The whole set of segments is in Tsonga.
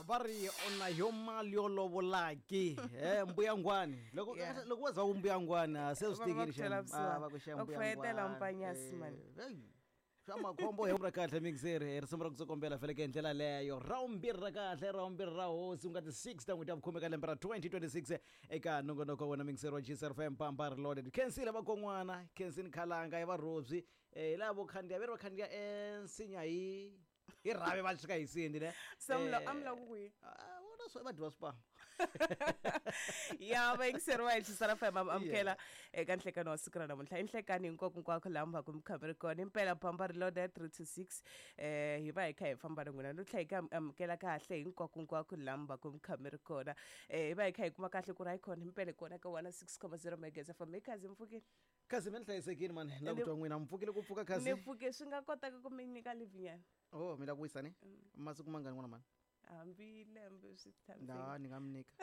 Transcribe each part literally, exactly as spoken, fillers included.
Va ri ona yo mali yo lovolaki eh mbuyangwani loko Yeah. loko wa za ku mbuyangwani se swi Va- va tekile ku twela xa vusiwana. va ku xa Va ku fayetela mpanyasi, man. Swa makhombo hi ra kahle mixer risimu ra ku kombela feleke hi ndlela leyo ra vumbirhi ra kahle ra vumbirhi ra hosi ku nga ti six ta n'hweti ya vukhume ka lembe ra twenty twenty-six eka nongonoko wa wena mixer wa G S F M Pampa Reloaded. Khensile vakon'wana, khensini khalanga ya varhobyi eh hi lava vo khandziya ve ri va khandziya ensinya hi hi rhavi va xika hi sindi ne Se mi la- a mi lava ku kwihi? Ah, vona swo va dyiwa swipamu. Ya vayingiseri va hi Xisara F M amukela eka nhlekani wa siku ra namuntlha. I nhlekani hinkwako hinkwako laha mi va ku mi kha mi ri kona. Impela Pampa Reloaded three two six eh hi va hi kha hi famba na n'wina no tlhela hi ka amukela kahle hinkwako hinkwako laha mi va ku mi kha mi ri kona. Eh hi va hi kha hi kuma kahle ku ri hayi khona impela hi kona ka one six comma zero megahertz F M. Hi khazi mi pfukile? Khazi mi ni hlayisekile mani, ni lava ku Ni twa n'wina mi pfukile ku pfuka khazi? Ni pfuke swi nga kotaka ku mi nyika leave nyana. Oh, mi lava ku wisa ni? Masiku mangani n'wana mani? Hambi lembe swi tshamiseke. Na, ni nga mi nyika.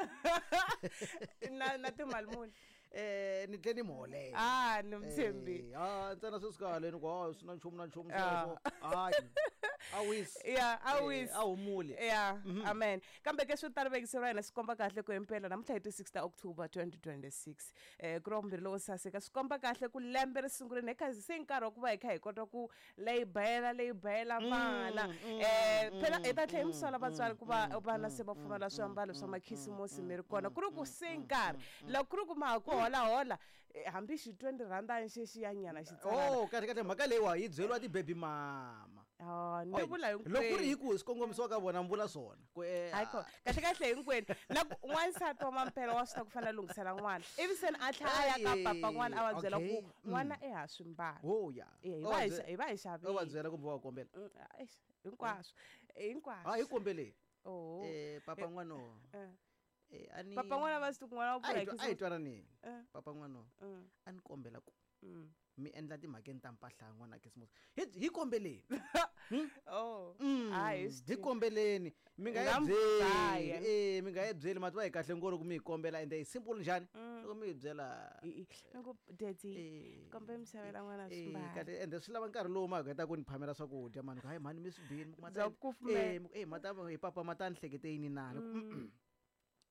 Na, na timali muni? Eh, ni tlhe ni mi holela. Ah, ni mi tshembi. Eh, ah, ntsena sweswi kahle ni ku, ah, swi na nchumu na nchumu Ah. sweswo. Hayi. A wisi. Ya, a Eh, wisi. a humuli. Ya, amen. Kambe ke swo tala vekiseriwa hina swi komba kahle ku impela namuntlha hi ti six ta October twenty twenty-six. Eh, ku ri vumbirhi lowo saseka swi komba kahle ku lembe ri sungurile hi khazi se nkarhi wa ku va hi kha hi kota ku leyibela, leyibela vana. Mm, Eh, mm, phela hi ta tlhela hi mm, mi sola vatswari ku va mm, vana mm, se va mm, pfumala swiambalo mm, swa mm, makhisimusi mm, mi ri kona. mm, Ku ri ku mm, se mm, nkarhi. mm, Loko ku ri ku ma ha ku holahola, eh, hambi xi twenty rand xexi ya nyana xi tsanana. Oh, kahle kahle mhaka leyiwa yi byeriwa ti-baby mama. Ah, ni Oi, vula loko ku ri hinkwenu. hi ku swi kongomisiwa ka vona mi vula swona. Ku, eh, Hayi kona. Kahle kahle hinkwenu. Na ku n'wansati wa mampela wa swi ta ku fanele a lunghisela n'wana. Ivi se a tlhela a ya ka Ai, papa n'wana a va byela ku okay. Mm. n'wana i ha swi mbala. Oh, ya. Eh, hi O va va hi bye- xa-, hi va hi o va xavile. byela kumbe wa kombela? Mm, eish, hinkwaswo. Hinkwaswo. Ah, hi kombeleni. Oh. Eh, papa n'wana. Eh. Eh, a ni Papa n'wana va swi ku n'wana wa A hi pfula twa-, a hi twananeni. Eh. Papa n'wana. Mm. A ni kombela ku Mm. mi endla timhakeni ta mpahla ya n'wana Khisimusi. Hi, hi kombeleni. Oh. Mm. Hayi, swi Hi tivi. kombeleni. Mi nga Nga hi mi byeli. dlaya. Eh, mi nga hi byeli mati va hi kahle ngopfu loko mi hi kombela ende hi simple njhani? Mm. Loko mi hi byela, I, i, mi ku, daddy, eh, kombe mi xavela n'wana eh, swimbalo. kahle, ende swi lava nkarhi lowu ma heta ku ni phamela swakudya mani. Ku, hayi mhani mi swi bini, mi ku, Bya mata- kufumela. eh, mi ku, eh, mata, eh, papa, mata ni hlekete yini na? Ni ku, mm-mm.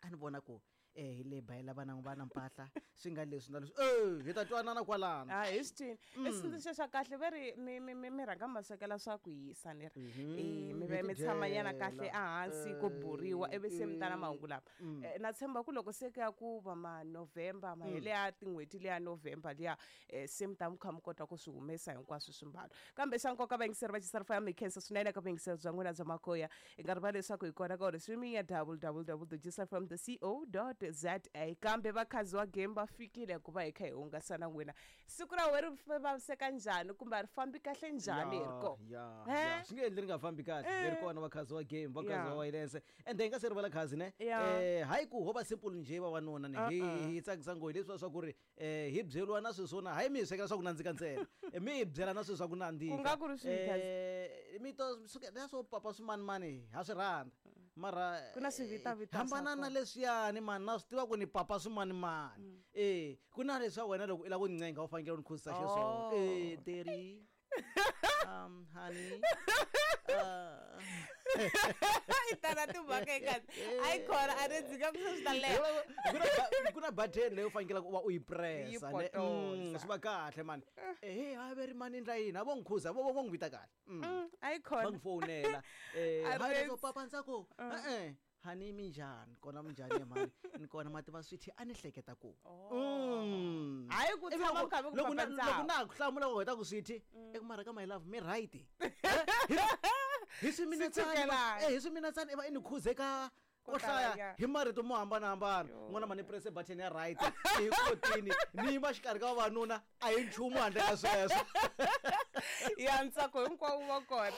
A ni vona ku, eh, hi le bayela vana vana mpahla, swi nga leswi na leswi. Eh, hi ta twanana kwalano. Ah, hi swi twini. I xitsundzuxo xa kahle ve ri mi, mi, mi, mi rhanga ma swekela swa ku hisa ni ri. Mhm. Eh, mi Hi ve mi tshama nyana tidyela. kahle ehansi ku buriwa ivi se mi ta na Eh, mahungu lama. mm. Eh, na tshemba ku loko se ku ya ku va ma November, Mm. mahele ya tin'hweti liya November liya, eh, se mi ta mi kha mi kota ku swi humesa hinkwaswo swimbalo. Kambe xa nkoka vayingiseri va Xisara F M, mi khensa swinene eka vuyingiseri bya n'wina bya makoya. Hi nga rivali leswaku hi kona ka streaming ya w w w dot G S F M dot c o dot z a. Kambe vakhazi wa game va fikile ku va hi kha hi hungasa na n'wina. Siku ra wena ri vaviseka njhani kumbe a ri fambi kahle njhani hi ri kona? Ya, He? ya. Swi nge endli ri nga fambi kahle. Hi ri kona vakhazi wa game, vakhazi Ya. wa wireless. Ende hi nga se rivala khazi ne? Ya. Eh, hayi ku ho va simple njhe vavanuna ne. Hi, Uh-uh. hi tsakisa ngopfu leswiya swa ku ri, eh, hi byeriwa na sweswo na hayi mi hi swekela swa ku nandzika ntsena. Eh, mi hi byela na sweswo swa ku nandzika. Ku nga ku ri swihi khazi? Eh, mi to suka na swo papa swimanimani ha swi rhandza. Mara, Ku na swivitavita swa hambana na kona. leswiyani mani, na swi tiva ku ni papa swimanimani. Mm. Eh, ku na leswa wena loko i lava ku ni ncenga u fanekele u ni khuzisa xiswona. Oh. Eh, daddy. Um, honey. Uh, I tala timhaka eka a yi kona a ni ndzi nga ku swi ta leha. Ku na ba-, ku na button leyi u fanekele ku va u yi pressa, Yi ne? potosa. Mm, swi va kahle mani. Eh, a ve ri mani endla yini? A vo n'wi khuza, vo, vo, vo n'wi vita kahle. Mm. Mm, a yi Va kona. n'wi fowunela. Eh, A hayi ri leswo papa ntsako. E-e. Honey, minjhani? Kona minjhani ya mhani? Ni kona mati va swithi a ni hleketa ku. Oh. Mm. Hayi ku Ivi tshama loko ku kha ku loko na papa loko ntsako. na ha ku hlamula ku heta ku swithi, Mm. i ku mara ka my love mi right. Hi swiminetsana, Swi eh, hi swiminetsana i va i ni khuze ka Ko ko hlaya talanyana. hi marito mo hambanahambana. Yo. N'wana mani press button ya right. Hi kotini ni yima xikarhi ka vavanuna a hi nchumu handle ka sweswo. Ya ntsako hinkwawo wa kona.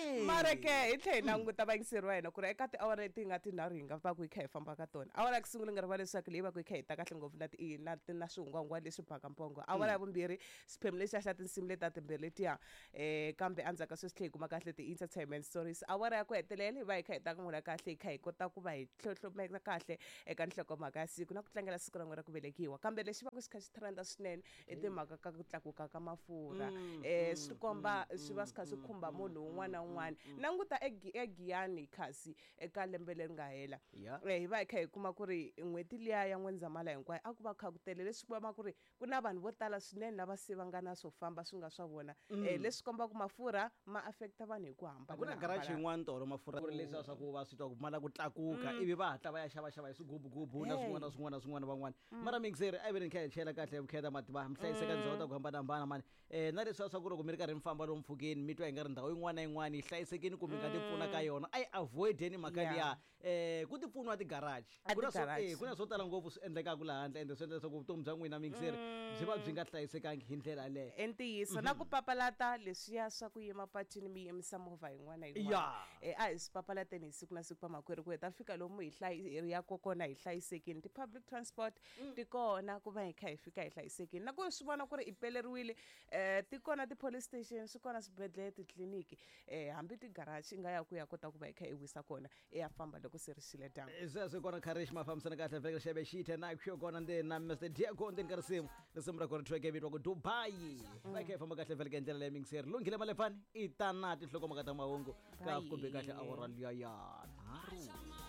Hey. Mara ke hi tlhela hi languta vayingiseri va hina ku ri eka tiawara leti hi nga tinharhu hi nga va ku hi kha hi famba ka tona. Awara ya ku sungula nga rivala leswaku leyi va ku hi kha hi ta kahle ngopfu na ti, na ti, na swihungwahungwa leswi baka mpongo. Awara ya vumbirhi xiphemu lexiya xa tinsimu leti ta timbirhi letiya, eh, kambe endzhaku ka sweswi tlhela hi kuma kahle ti-entertainment stories. Awara ya ku hetelela hi va hi kha hi ta n'wina kahle hi kha hi kota ku va hi hlohlomela kahle eka nhlokomhaka ya siku na ku tlangela siku ra n'wina ra ku velekiwa. Kambe lexi va ku xi kha xi trenda swinene i timhaka ka ku tlakuka ka mafurha. Mm, Eh, mm, swi komba mm, swi va swi kha swi mm, khumba mm, munhu un'wana na un'wana. yin'wana. Languta eGiyani kasi eka lembe leri nga hela, Ya. Eh, hi va hi kha hi kuma ku ri n'hweti liya ya N'wendzamhala hinkwayo a ku va kha ku tele, leswi komba ku ri ku na vanhu vo tala swinene lava se va nga na swo famba swi nga swa vona, um leswi kombaka mafurha ma affecta vanhu hi ku A ku na garage hambana. Yin'wana tolo mafurha ku ri leswiya swa ku va swi twa ku ma la ku tlakuka, ivi va hatla va ya xavaxava hi swigubugubu na Hey. swin'wana na swin'wana na swin'wana van'wana. Mara mixeri a yi ve ni kha hi chela kahle hi vukheta mativa mi hlayiseka ndhawu ta ku hambanahambana mani, um na leswiya swa ku loko mi ri karhi mi famba lomu mpfhukeni, mi twa hi nga ri ndhawu yin'wana na yin'wana yi hlayisekini kumbe mi nga ti pfuna ka yona, a yi avoideni mhaka Yeah. liya um ku ti pfuniwa ti-garage. A Ku na swo- ti-garage. eh, ku na swo tala ngopfu swi endlekaka laha handle, ende swi endla leswaku vutomi bya n'wina mixeri byi va byi nga hlayisekangi hi ndlela yaleyo. I ntiyiso, na ku papalata leswiya swa ku yima patwini mi yimisa movha yin'wana na yin'wana. Ya. Eh, a hi swi papalateni hi siku na siku vamakwerhu, ku hi ta fika lomu hi hlayi hi yaka kona hi hlayisekini. Ti-public transport ti kona ku va hi kha hi fika hi hlayisekini, na ku swi vona ku ri i peleriwile, um ti kona ti-police station, swi kona swibedhlele, titliliniki, um hambi ti-garage i nga ya ku ya kota ku va hi kha hi wisa kona, i ya famba loko se ri xile dyambu. Sweswo kona Kharish ma fambisana kahle vhele xebe xithe na xo kona ndzeni na Mister Diego ndzeni ka risimu risimu ra kona track vitiwa ku Dubai, va kha hi famba kahle vhele ka ndlela leyi mixeri lunghile malefani i ta na tinhlokomhaka ta mahungu ka Bye. kumbe kahle awara liya ya nharhu.